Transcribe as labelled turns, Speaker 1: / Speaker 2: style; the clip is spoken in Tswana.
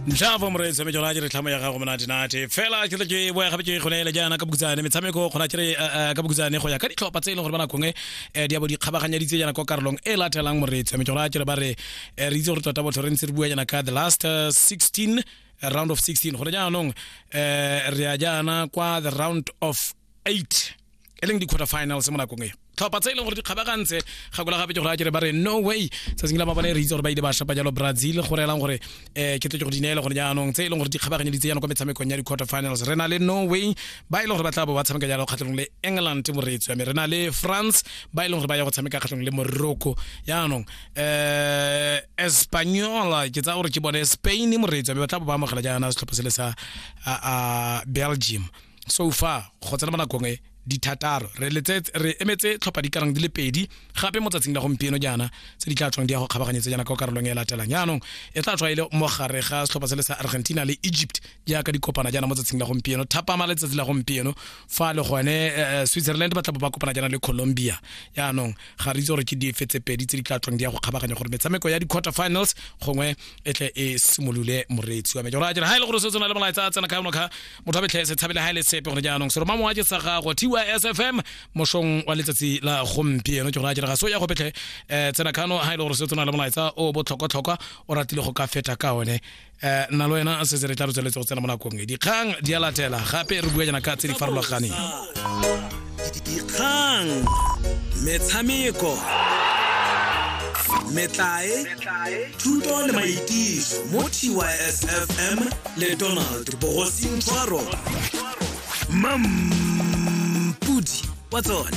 Speaker 1: Njavo moreetsi wa metswela ke re tlhamo ya gago monate-nate fela ke tle ke boya gape ke go neele jaana ka bokutsane metshameko gona ke re ka bokutsane go ya ka ditlhopha tse e leng gore ba nakongwe di a bo di kgabaganyeditse jaana kwa karolong e latelang. Moreetsi wa metswela ke re ba re re itse gore tota botho re ntse re bua jaana ka the last 16, round of 16. Gore jaanong re ya jaana kwa the round of 8, e leng di-quarter finals mo nakong e. Tlhopha tse e leng gore di kgabagantse gakola gape ke gore a kere ba re Norway tsatsing la mabone, re itse gore ba ile ba shapa jalo Brazil. Go reelang gore ke tle ke go di neele gore jaanong tse e leng gore di kgabaganyeditse jaanong kwa metshamekong ya di-quarter finals, re na le Norway ba e leng gore ba tla bo ba tshameka jalo kgatlhanong le England. Moreetsi wa me, re na le France ba e leng gore ba ya go tshameka kgatlhanong le Morocco. Jaanong Espanyola, ke tsaya gore ke bone Spain, moreetsi wa me, ba tla bo ba amogela jaana setlhopha se le sa Belgium. So far go tsena mo nakong e dithataro re letsetse, re emetse tlhopha di karang di le pedi gape mo tsatsing la gompieno jaana tse di tla tswang di ya go kgabaganyetsa jaana ka karolong e latelang. Jaanong e tla tswa e le mo gare ga setlhopha se le sa Argentina le Egypt jaaka di kopana jaana mo tsatsing la gompieno, thapama letsatsi la gompieno. Fa le gone Switzerland ba tla bo ba kopana jaana le Colombia. Jaanong ga re itse gore ke dife tse pedi tse di tla tswang di ya go kgabaganya gore metshameko ya di-quarter finals gongwe e tle e simolole. Moreetsi wa me, jora jere, ha e le gore se tsena le molaetsa a tsena ka yono kha motho wa betlhe se tshabele ha e le sepe gore jaanong seroma mowa ke sa gago TYSFM mošong wa letsatsi la gompieno. Ke gore a jere ga so ya go betlhe tsena kano ha e le gore se tsena le molaetsa o botlhokwa-tlhokwa o ratile go ka feta ka one nna le wena setse re tla re tsweletse go tsena mo nakong e. Dikgang di a latela gape re bua jaana ka tse di farologaneng.
Speaker 2: Dikgang, metshameko, metlae, thuto le maitiso mo TYSFM le Donald Bogosing Tshwaro, mampudi wa tsone.